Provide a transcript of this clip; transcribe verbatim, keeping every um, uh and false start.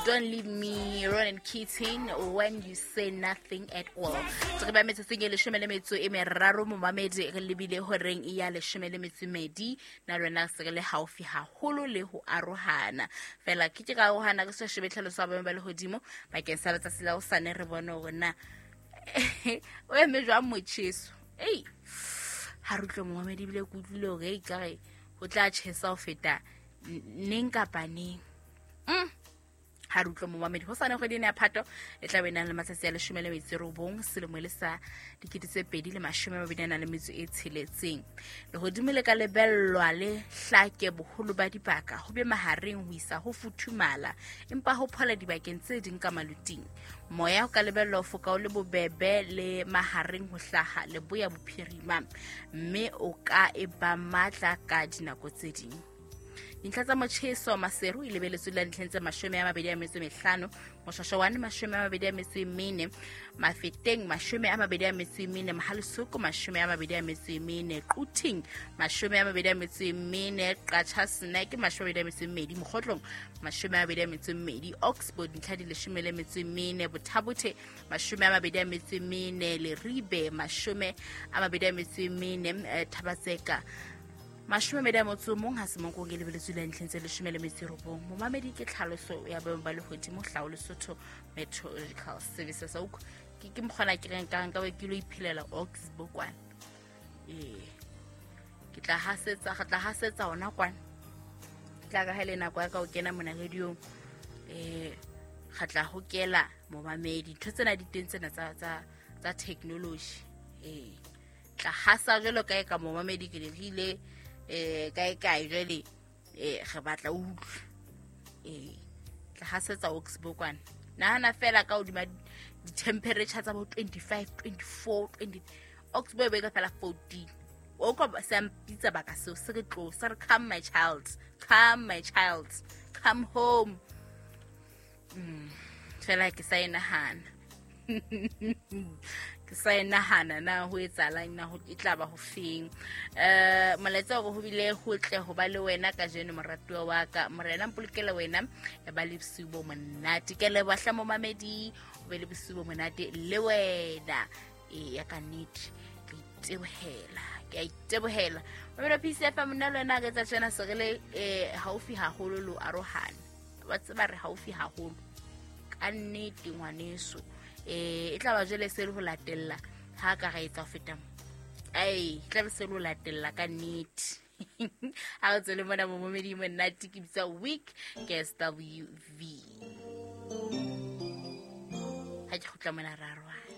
Don't Leave Me, Ronan Keating, When You Say Nothing at All. Re ba metsotsong e leshome le metso e meraro, momamedi, re lebile horeng ya leshome le metso e medi. Na le wena se re le haufi haholo le ho arohana fela ke ke ka arohana re sa shebe tlhaloso ya boemo ba lehodimo bakeng sa letsatsi la hosane, re bone hore na o eme jwang motjheso. Ei, ha re utlwe, momamedi, ebile ke utlwile hore ei kare ho tla tjhesa ho feta neng kapa neng. Mm. Ha re utlwe, momamedi, ho sane kgwedi ena ya Phato e tla be nang le matsatsi a leshome le metso e robong selemo e le sa dikete tse pedi le mashome a mabedi a nang le metso e tsheletseng. Lehodimo le ka lebellwa le hlake boholo ba dibaka, ho be mahareng ho isa ho futhumala, empa ho phola dibakeng tse ding ka maluting. Moya o ka lebellwa ho foka o le bobebe le mahareng ho hlaha leboya bophirima, mme o ka e ba matla ka dinako tse ding. Dintlha tsa motjheso: Maseru e lebeletswe la dintlheng tse mashome a mabedi a metso e mehlano, Moshwashwane mashome a mabedi a metso e mene, Mafeteng mashome a mabedi a metso e mene, Mohale'shoek mashome a mabedi a metso e mene, Quthing mashome a mabedi a metso e mene, Qacha's Nek mashome a mabedi a metso e mmedi, Mokhotlong mashome a mabedi a metso e mmedi, Oxford dintlha di leshome le metso e mene, Botha-Bothe mashome a mabedi a metso e mene, Leribe mashome a mabedi a metso e mene, eh, Thaba-Tseka mashome a mabedi a motso o mong, ha Semonkong e lebeletswe le ntlheng tse leshome le metso e robong. Momamedi, ke tlhaloso ya boemo ba lehodimo hlao Lesotho Meteorological Services. Au ke ke mokgona ke reng ka nka be ke lo iphelela Oxbow kwana. Ee, ke tla hasetsa, re tla hasetsa hona kwana. Tla ka ha le nako ya ka ho kena mona radiong, eh re tla hokela, momamedi, ntho tsena di teng tsena tsa tsa tsa technology. Ee, tla hasa jwalo kae ka, momamedi, ke le rile eh kae kae jwale, eh re batla utlwe. Ee, tla hasetsa Oxbow kwana. Nahana fela ka hodima di-temperature tsa bo twenty-five, twenty-four, twenty, Oxbow e be ka fela fourteen. O ka se mpitsa baka seo se re tlo se re, "Come, my child, come, my child, come home." mm fela ke sa e nahana, ke sa e nahana na ho etsahalang, na ho e tla ba ho feng. eh molaetsa hore ho bile ho tle ho ba le wena kajeno, moratuwa wa ka, Morena mpolokele wena, e ba le bosiu bo monate. Ke leboha hle, momamedi, o be le bosiu bo monate le wena. E ya ka nnete ke itebohela, ke a itebohela, mamelo P C F M. Nna le wena re etsa tjena, se re le eh haufi haholo lo arohana. Wa tseba re haufi haholo ka nnete, ngwaneso. eh e tla ba jwale se le ho latella ha ka ra etsa ho feta mo. Ai, e tla be se le ho latella ka nnete. Ha re tswele mona, momamedi monate, ke bitsa Week ke S W V. Ha ke kgutla mona, ra arohana.